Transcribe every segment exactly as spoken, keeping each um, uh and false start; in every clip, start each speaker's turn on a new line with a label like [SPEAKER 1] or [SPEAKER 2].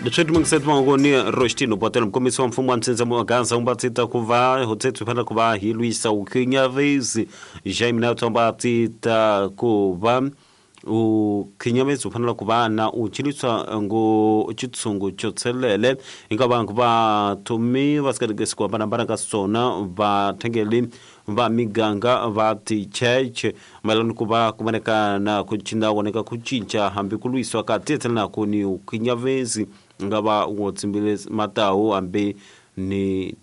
[SPEAKER 1] Leswi mungisethi mangoni Roshtino Botelo mkomisi wa mfumo wa Mtsenza Mwangaza umbatsita kuva hotsethu phela kuva hilwisa ukhinyavezi Jaime Nato mbatsita kuva ukhinyavezi ufanele kuva na uchiliswa ngo chitsungu chotselele ingaba kuva tumi vasikadikesi kwa barabara kasona vathengeli va miganga va ticheche mayelana kuva kumaneka kuchinda woneka kuchincha hambi kulwiswa ka tetsela kuni ukhinyavezi ngava wotsimbile matawu hambi ni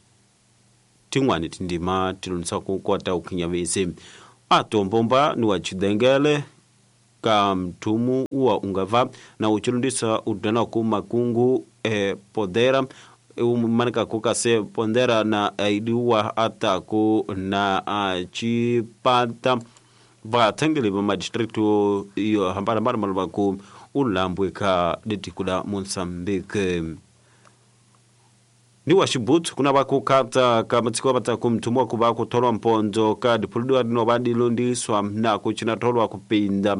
[SPEAKER 1] tin'wani tindima tilonisa ku kota ukhinyavezi atombomba ni wa chidengele ka mthumu wa ungava na uchilundisa udana ku makungu eh, podera umanika kukase pondera na aidiwa ataku na chipata vathengeli va madistricto yo hambana malvaku ulambwe ka ditikula Mozambique ni wa Xibuthu kuna va kukata ka matsiko va ku mthumu wa ku va ku tholwa mpondzo ka diphuludiwa dino va dilondiswa na ku china tholwa kupinda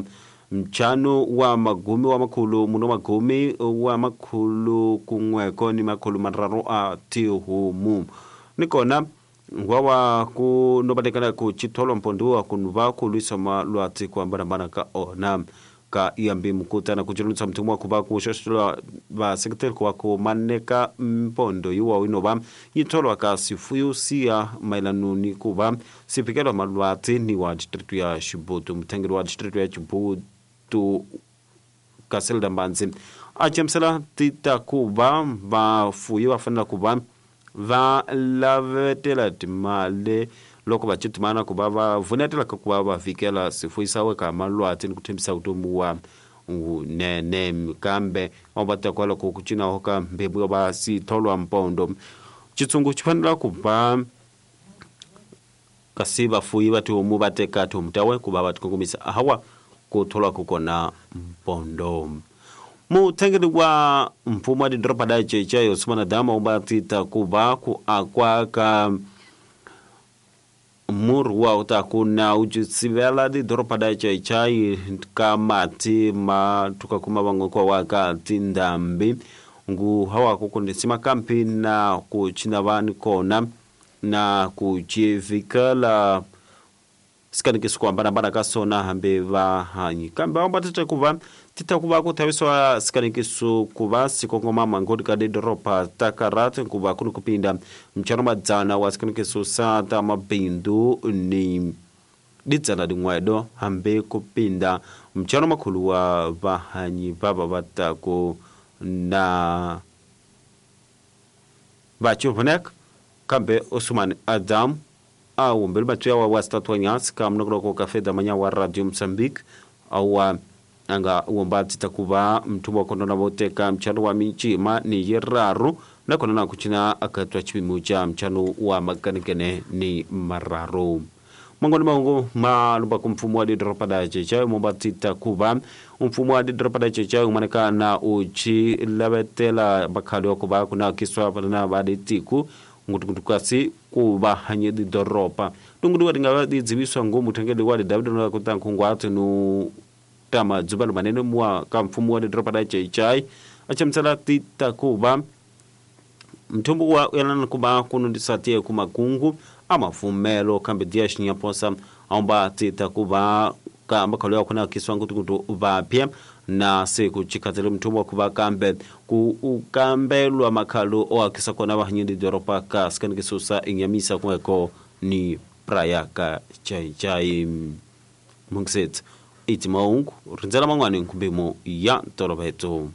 [SPEAKER 1] mchano wa magumi wa makhulu muno magumi wa makhulu kun'weko ni makhulu manharhu a tihomu ni kona ngwawa ku nobatekana ku chitholwa mpondzo wa ku va ku lwisa malwatsi ku hambanahambana ka ona ka iyambi mukutana ku chilundisa mthumu wa ku va ku xoxela vaseketeri ku va ku maneka mpondo yiwa inova yi tholwa ka sifuyo siya mayelano ni ku va siphikelo malwatsi ni wa district ya Xibuthu muthengeri wa district ya Xibuthu Kaselda Mbanzi a chamusela tita ku va vafuyi va fanela ku va va lavetela timali loko va chitimana ku va va vunetela ka ku va va vikela sifuyisawe ka malwatsi ni ku thembisa vutomi wa wunene kambe va va ta kwala ku cinaho ka mbebu va si tholwa mpondo chitsungu xi fanela ku va kasi vafuyi va tihomu va teka tihomu tawe ku va va tikongomisa hawa ku tholwa ku kona mpondo. Muthengeri wa mfumo wa didoroba da Cheche Yosumana Dama umbatita ku va ku akwa ka murhi wa utaku na ucisivela didoroba da Chechai ka mati ma tuka kuma van'we kwa wa ka tindhambi ngu hawa ku kondisima kampi na ku china vani kona na ku chivikela sikanikisi ku hambanahambana ka sona hambi va hanyi kambe va tita ku va tita ku va ku thavisiwa sikanikiso ku va sikongoma mangodi ka didoroba ta karate ku va ku ni ku pinda mchano madzana wa sikanikiso sa ta mabindu ni didzana din'wedo hambi ku pinda mchano makhulu wa vahanyi va va va ta ku na vachuvunek kambe Osman Adam a wumbeli matsuya wa wa statwanyas ka mnokoloko ka feda manya wa Radio Mozambique awa anga womba tita kuva mthumu wa kondona voteka mchano wa michima ni yiraru nakona na kuchina akatwa chipimo cha mchano wa makanekene ni mararu mangoni mango malumba ku mfumo wa didoroba da Cheche momba tita kuva mfumo wa didoroba da Cheche umaneka na uchi lavetela bakhali wa kuva kuna kiswa na baditiku ngutukutu kasi ku va hanye didoroba tungudu wa tingava didziviswa ngo muthengeli wa David no ku tankhungwatsi no tama dzubalo manene mwa ka mfumo wa didoroba da Cheche achamusela tita kuva mthumbu wa yelana kuva kunundisa tiye kumakungu amafumelo kambe dia xinyaposa aumba tita kuva ka makhalo ya kuna kiswa ngutukutu vapya na siku chikhatsele mthumbu wa kuva kambe ku ukambelwa makhalo o akisa kona vahanye didoroba ka sikanikiso inyamisa kun'weko ni praya ka Chaichai mungisetsa iti maungu rindzela man'wani nkumbimo ya ntoloveto.